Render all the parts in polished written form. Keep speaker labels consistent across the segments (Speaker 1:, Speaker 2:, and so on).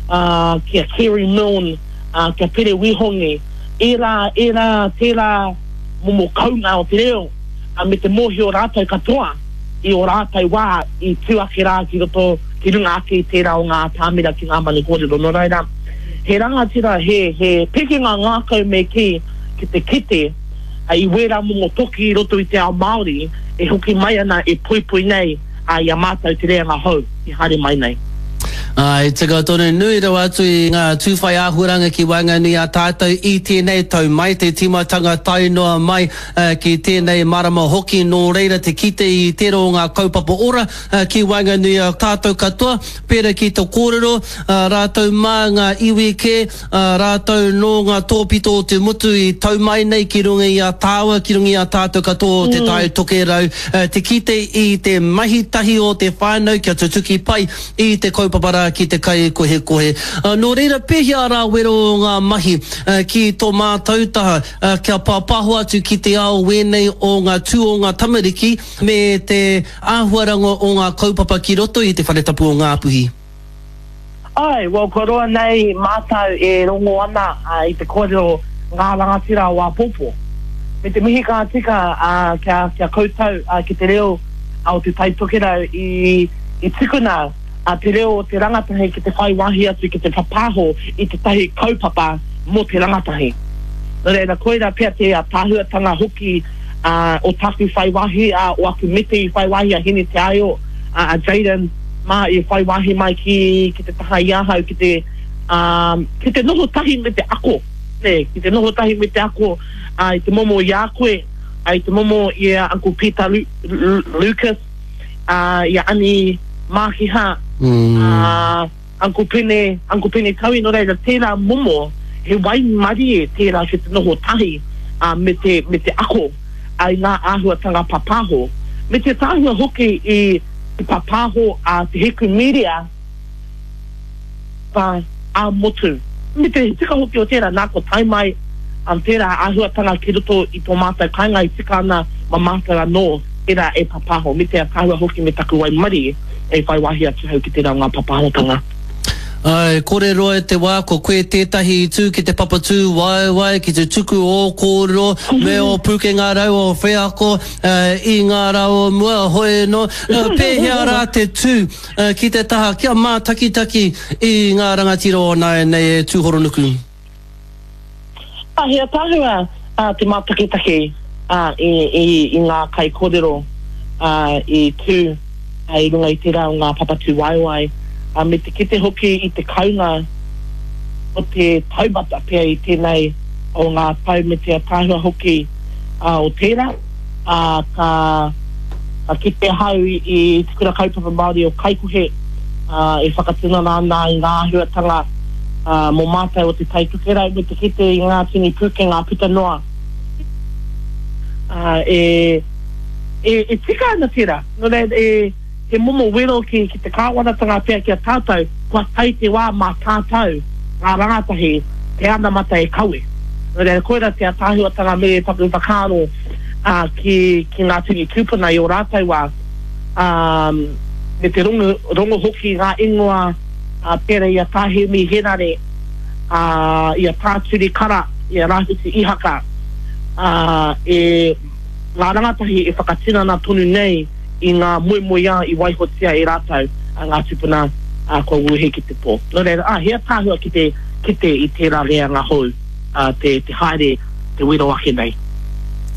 Speaker 1: ki a Kerry Milne, ki a Pere Wihongi, ērā, ērā, tērā momo kounga o te reo, me te mōhio rātou katoa i ō rātou wā i tū ake rā ki roto, ki runga ake i tērā o ngā atamira ki ngā manu kōrero. Nō reira, he rangatira, he, he pekenga ngākau me kī ki te kite i wērā momo toki i roto i te ao Māori e hoki mai ana e poipoi nei i a mātou te reanga hou i haere mai nei.
Speaker 2: Āe, tika tonu, nui rawa atu i ngā tūwhai āhuaranga ki waenganui a tātou i tēnei tau mai te tīmatanga tae noa mai ki tēnei marama hoki, nō reira te kite i tērā o ngā kaupapa ora ki waenganui a tātou katoa, pērā ki te kōrero, rātou mā ngā iwi kē, rātou nō ngā tōpito o te motu i tau mai nei ki runga i a tāua, ki runga i a tātou katoa o Te Tai Tokerau, te kite i te mahi tahi o te whānau kia tutuki pai i te kaupapa rā ki te kaikohekohe. Nō reira, pēhea rā wero o ngā mahi ki tō mātou taha kia pāpāho atu ki te ao wēnei o ngā tū o ngā tamariki me te āhuaranga o ngā kaupapa ki roto i Te Whare Tapu o Ngāpuhi?
Speaker 1: Āe, well kua roa nei mātou e rongo ana i te kōrero Ngā Rangatira o Āpōpō. Me te mihi ka tika kia koutou ki te reo o Te Tai Tokerau i tukuna te reo o te rangatahi ki te whai wāhi atu ki te whapāho i tētahi kaupapa mō te rangatahi. Nō reira, koirā pea te ātaahuatanga hoki o tāku whai wāhi, o aku mete i whai wāhi a Hine Te Aio, a Jayden, mā i whai wāhi mai ki, ki te taha i ahau ki te, ā, ki te noho tahi me te ako, nē, ki te noho tahi me te ako, ā, i te momo i a koe, ā, i te momo i a Uncle Peter Lu, Lu, Lucas, ā, i a Ani Mākiha, ā, Uncle Pene, Uncle Pene Taui, nō reira, tērā momo, he waimarie tērā ki te noho tahi, ā, me te, me te ako, ā, i ngā āhuatanga papāho. Me te tāhua hoki i te papāho a Te Hiku Media pa, ā-motu. Me te tika hoki o tērā, nā kua tae mai tērā āhuatanga ki roto i tō mātou kāinga e tika ana ma mātou anō tērā e papāho. Me te ataahua hoki me taku waimarie e whai wāhi atu hau ki tērā o ngā papāhotanga.
Speaker 2: Āe, kore roa e te wā ko koe tētahi i tū ki te papatū waewae ki te tuku ō kōrero me ō pūkenga rau, ō wheako i ngā rā o mua, hoi anō, pēhea rā te tū ki te taha kia mātakitaki i ngā rangatira o nāianei e Tūhoronuku?
Speaker 1: A he ataahua te mātakitaki i ngā kaikōrero i tū i runga i tērā o ngā papa tūwaewae, me te kite hoki i te kounga o te taumata pea i tēnei o ngā tau me te ataahua hoki o tērā. Ā, ka, ka kite ahau i, i Te Kura Kaupapa Māori o Kaikohe, ā, e whakatinana ana i ngā āhuatanga, ā, mō mātou o Te Tai Tokerau me te kite i ngā tini pūkenga puta noa, ā, e, e, e tika ana tērā. Nō reira, e, he momo wero ki, ki te kāwanatanga pea ki a tātou, kua tae te wā mā tātou, ngā rangatahi, te anamata e kawe. Nō reira, koirā te ātaahuatanga me taku whakaaro ā, ki, ki ngā tini tūpuna i ō rātou wā, ā, me te rongo, rongo hoki i ngā ingoa, ā, pērā i a Tā Hēmi Henare, ā, i a Tā Turi Kara, i a Rāwhiti Ihaka, ā, e, ngā rangatahi e whakatinana tonu nei i ngā moemoeā i waihotia e rātou ngā tūpuna kua wehe ki te pō. Nō reira, ā, he ataahua ki te kite i tērā reanga hou te haere, te wero ake nei.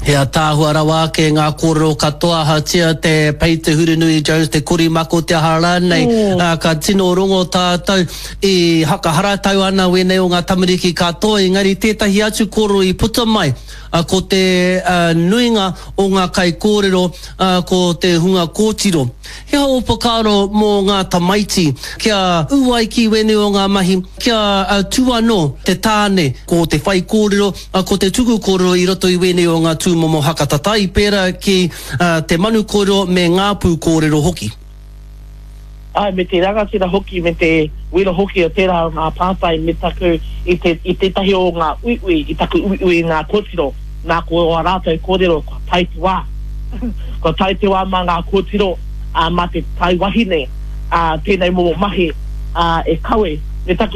Speaker 2: He ataahua rawa ake ngā kōrero katoa, ahatia te Pei Te Hurinui Jones, te Korimako, te aha rānei, ka tino rongo tātou i hakaharatau ana wēnei o ngā tamariki katoa, engari tētahi atu kōrero i puta mai, ko te nuinga o ngā kaikōrero, ā, ko te hunga kōtiro. He aha ō whakaaro mō ngā tamaiti kia ū ai ki wēnei o ngā mahi, kia tū anō te tāne, ko te whaikōrero, ko te tuku kōrero i roto i wēnei o ngā tūmomo haka tatai, pērā ki te manu kōrero me ngā pū kōrero hoki?
Speaker 1: Āe, me te rangatira hoki, me te wero hoki o tērā o ngā pātai me taku, i te, i tētahi o ngā uiui, i taku uiui i ngā kōtiro, nā ko ā rātou kōrero kua tae te wā, kua tae te wā mā ngā kōtiro, ā, mā te tai wahine, ā, tēnei momo mahi, ā, e kawe. Me taku.